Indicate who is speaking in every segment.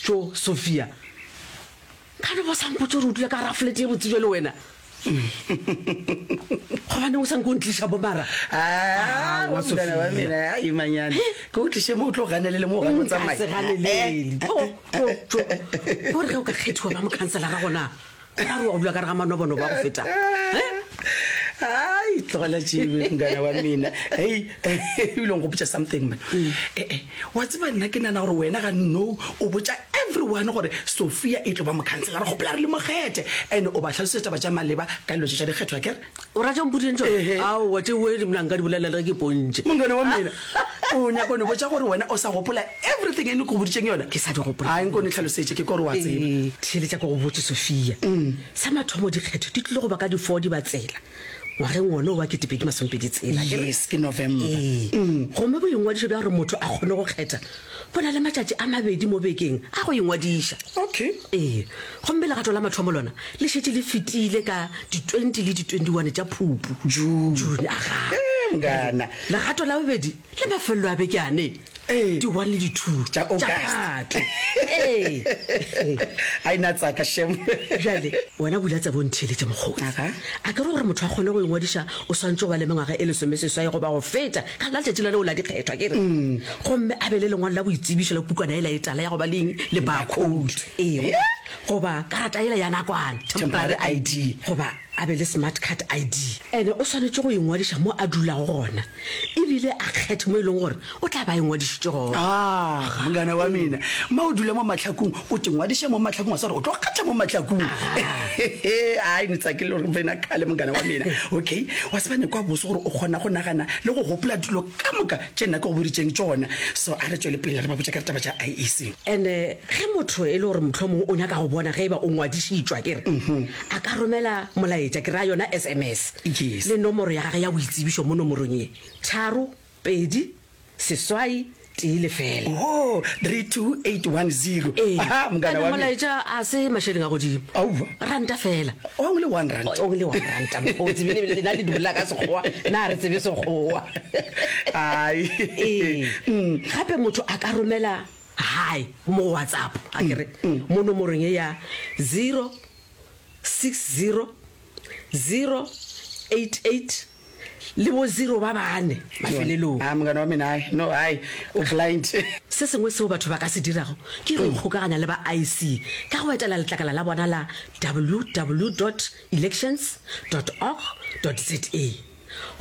Speaker 1: Tšo, Sophia. Ka no ba sa mpotše gore o dula ka gara flete ye botse bjalo wena. Gobaneng o sa nke o ntliša bo mara?
Speaker 2: Aowa, mongana wa mina, ai manyane. Ke o tliše mo o tlo ganelele mo o gana o
Speaker 1: tsamaya. Nka se ganelele. Tšo, tšo, tšo. Gore ge o ka kgethiwa ba mokhanselara gona, go ra gore wa go dula ka gare ga manobonobo a go feta.
Speaker 2: Ai, tlogela tšebe, mongana wa mina. Hei, ebile o nkgopotša something man. Eh-eh, wa tseba nna ke nana gore wena ga no o botša everyone gore Sophia e tlo ba mokhanselara, gopola re le mo kgethe. And o ba hlalosetša taba tša maleba ka dilo tše tša dikgetho, akere?
Speaker 1: O ra tše mpoditšeng tšona?
Speaker 2: Ehe.
Speaker 1: Aowa, tšeo nna nka di bolela le ge ke pontše.
Speaker 2: Mongana wa mina, o nyaka go no botša gore wena o sa gopola everything e ne ke go boditšeng yona?
Speaker 1: Ke sa di gopola.
Speaker 2: Ai, nko ne hlalosetše, ke kwa gore wa tseba.
Speaker 1: Ee, theeletša ke go botše, Sophia. Sa mathomo dikgetho di tlile go ba ka di four Dibatsela ngwageng wona wo wa 2026, akere?
Speaker 2: Yes, ke November.
Speaker 1: Ee. Gomme boingwadišo bja gore motho a kgone go kgetha bo na le matšatši a mabedi mo bekeng a go ingwadiša.
Speaker 2: Okay.
Speaker 1: Ee. Gomme legato la mathomo lona le šetše le fetile ka di 20 le di 21 tša Phupu.
Speaker 2: June.
Speaker 1: June, agaa.
Speaker 2: Ee, mngana.
Speaker 1: Legato la bobedi le mafelelo a beke ane.
Speaker 2: Ee.
Speaker 1: Di one le di two.
Speaker 2: Tša August.
Speaker 1: Phatwe. Ee.
Speaker 2: Ai na tsaka shem.
Speaker 1: Bjale, wena bula tsebe o ntheeletše mokgotsi.
Speaker 2: Aga.
Speaker 1: A ke re gore motho a kgone go ingwadiša o swantše go ba le mengwaga e lesomeseswai goba go feta ka la letšatši la leo la dikgethwa, ke re? Gomme a be le lengwalo la boitsebišo la pukwana yela e tala ya go ba le eng? Le barcode. Ee. Goba karata yela ya nakwana,
Speaker 2: temporary ID.
Speaker 1: Goba a be le smart card ID. Ene o swanetše go ingwadiša mo a dulago gona ebile a kgethe mo e leng gore o tla ba a ingwadišitše gona.
Speaker 2: Ah, mongana wa mina, ma o dula mo Mahlakung, o te ngwadiša mo Mahlakung, wa tseba gore o tlo kgetha mo Mahlakung. Ai, ne tsakile gore wena kgale mongana wa mina. Okay, wa tseba ne kwa bose gore o kgona go nagana le go gopola dilo ka moka tše nna ke go boditšeng tšona. So a re tšwele pele re ba botša ka ditaba tša IEC.
Speaker 1: Ene ge motho e le gore mohlomongwe o nyaka go bona ge e ba o ngwadišitšwe, akere, a ka romela molaetša, ke ra yona SMS,
Speaker 2: Yes.
Speaker 1: le nomoro ya gagwe ya boitsebišo mo nomorong ye, tharo, pedi, seswai, tee, lefela.
Speaker 2: Oho, 32810.
Speaker 1: Ee.
Speaker 2: Aha, mongana
Speaker 1: Ene
Speaker 2: wa me.
Speaker 1: molaetša a se mašeleng a godimo.
Speaker 2: Aowa.
Speaker 1: Ranta fela.
Speaker 2: Only one rand.
Speaker 1: Only one ranta, mokgotsi. Bene bene lena le di bolela ka Sekgowa, na re tsebe Sekgowa.
Speaker 2: Ai.
Speaker 1: Ee. Gape motho a ka romela hi mo go WhatsApp, a ke re, mo nomorong ye ya 060 088 le bo zero ba bane mafelelong.
Speaker 2: Ah, mongana wa mina, hai, no, hai, o blind.
Speaker 1: Se sengwe seo batho ba ka se dirago ke go ikgokaganya le ba IEC ka go etela letlakala la bona la www dot elections dot org dot za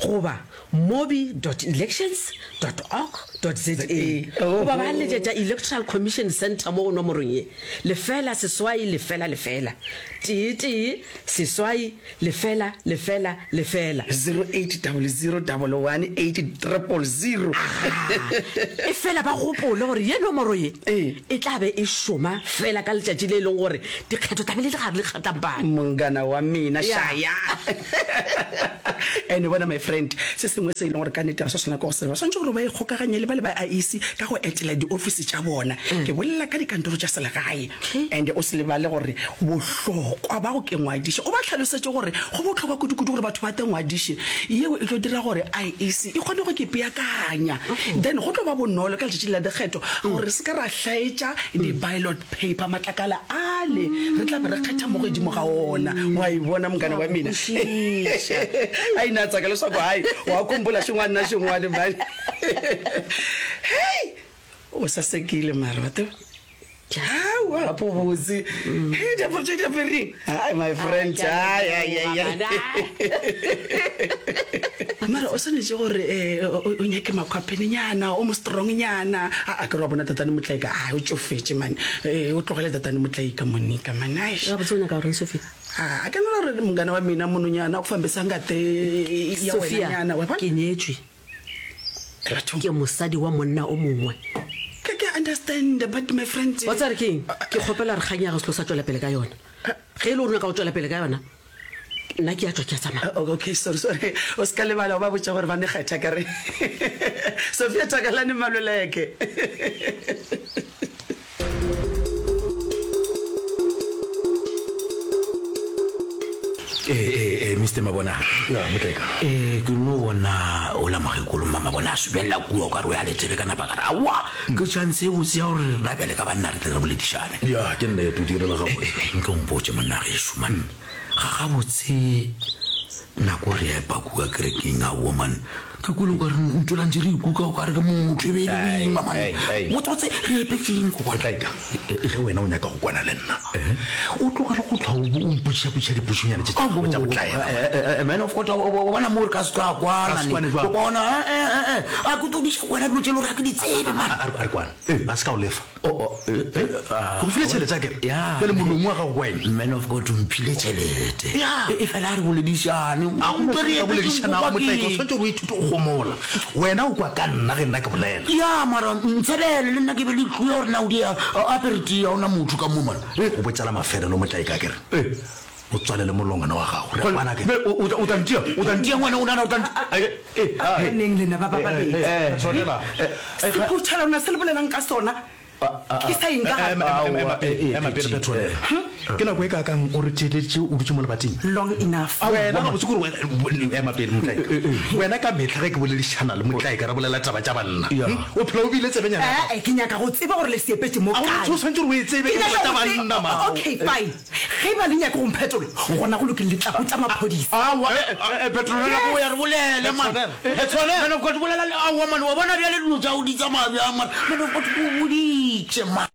Speaker 1: goba mobi dot elections dot org dot za goba ba letšetša Electoral Commission Centre mo go nomorong ye, lefela seswai lefela lefela tee tee seswai lefela lefela lefela.
Speaker 2: 0800118000.
Speaker 1: Agaa. Efela ba gopole gore ye nomoro ye e tla be e šoma fela ka letšatši le e leng gore dikgetho tla be le le gare le kgatlampana.
Speaker 2: Mongana wa mina,
Speaker 1: Ya.
Speaker 2: šaya. And bona my friend, se sengwe se e leng gore ka nnete ga se swanela ke go se ba swanetše gore ba ikgokaganye le ba le ba IEC ka go etela diofisi tša bona. Ke bolela ka dikantoro tša selegae. And o se lebale gore bohlokwa ba go ke ngwadiša, o ba hlalosetše gore go bohlokwa kudu-kudu gore batho ba te ngwadiše. Yeo e tlo dira gore IEC e kgone go ke peakanya. Then go tlo ba bonolo ka letšatši la dikgetho gore re se ke ra hlaetša di-ballot paper, matlakala ale re tla be re kgetha mo godimo ga ona. Wa e bona mongana wa mina? Ai na tsaka leswaku hai wa khumphula xin'wana na xin'wana mhani. Hei! O sasekile mara wa tseba. Aowa gape o botse. Hei diaparo tše di apereng. Hai my friend. Hai hai hai. Mara o swanetše gore eh, o nyake makhwaphenenyana, o mo strongnyana. A a ke re wa bona Tatane Motlaika, a o tšofetše man. Eh, o tlogele Tatane Motlaika Monica man. Aish.
Speaker 1: Gabotse o nyaka goreng Sophia?
Speaker 2: A ke nagana gore mongana wa mina mononyana o fambisa ngate ya
Speaker 1: Sophia,
Speaker 2: wenanyana wa bona.
Speaker 1: ke nyetšwe. Ke mosadi wa monna o mongwe.
Speaker 2: Ke ke understand but my friend.
Speaker 1: Wa tseba re ke eng? Ke kgopela gore kgang ya gago se tlo sa tšwela pele ka yona. Ge e le gore o nyaka go tšwela pele ka yona, nna ke a tšwa ke a tsamaya.
Speaker 2: Okay, sorry, sorry. O se ka lebala o ba botša gore ba ne kgetha ka re Sophia Takalane Maluleke.
Speaker 3: Ee, ee, ee, Mister. Mister Mabona.
Speaker 4: Ya, Motlaika.
Speaker 3: Eh, ke no bona ola mokgekolo mma Mabona a subelela kua o ka re o ya letsebe ka napa ka re aowa ke chance e botse ya gore rena bjale ka banna re tle re boledišane.
Speaker 4: Ya, ke nnete o direla gabotse.
Speaker 3: Eh, eh, nke o mpotše monna gešo man, ga gabotse nako re epa kua kerekeng aowa man, Ke kwele o ka re ntšwela ntše re ikuka o ka re ke motho e be e le boima man. Botsebotse re epetšeng go bona.
Speaker 4: Tlaika, ge wena o nyaka go kwana le nna, o tlogele go hlwa o mpotšišapotšiša dipotšonyana tše tša gago tša botlaela.
Speaker 3: Man of God, o bona mo re ka se tlo kwana.
Speaker 4: Ka se kwane jwang?
Speaker 3: O bona, a ke tlo diša wena dilo tše e le gore ga ke di tsebe man.
Speaker 4: A re kwane, ba se ka o lefa. Ke go file tšhelete akere? Bjale molomo wa gago ke wa eng?
Speaker 3: Man of God, o mphile tšhelete.
Speaker 4: Ya.
Speaker 3: E fela a re boledišane.
Speaker 4: A go re ka boledišanago Motlaika, o swanetše gore o ithute go homola. Wena o kwa ka nna ge nna ke bolela.
Speaker 3: Ya, mara ntshebele le nna ke be le clue ya gore na o di apere tee, ga o na motho ka mo man.
Speaker 4: Go botša la mafelelo Motlaika akere? O tswalele molongwana wa gago. Re a kwana akere?
Speaker 3: O tla ntia, o tla ntia ngwana, o nana o tla ntia.
Speaker 2: Neng lena ba ba babedi? Sephuthelwana se le bolelang ka sona ke sa eng ka gare?
Speaker 4: Ema pele, ema pele Petronella. Ke nako e kaakang o re theeleditše o dutše mo lebating?
Speaker 2: Long enough.
Speaker 4: Wena gabotse kore wena, ema pele Motlaika. Wena ka mehla ge ke boledišana le Motlaika re bolela taba tša banna. O phela o beile tsebenyana ya gago.
Speaker 2: Ee, ke nyaka go tseba gore le se epetše mo kae.
Speaker 4: O swanetše gore o e tsebe, ke taba tša banna man.
Speaker 2: Okay, fine. Ge e ba le nyaka go mphetola, gona go lokile, le tla botša maphodisa.
Speaker 3: Aowa, Petronella, boya re bolele, man. Petronella, man of God, bolela le, aowa, man, wa bona bjale dilo tša gago di tsamaya bjang, man. Man of God, ke o boditše, man.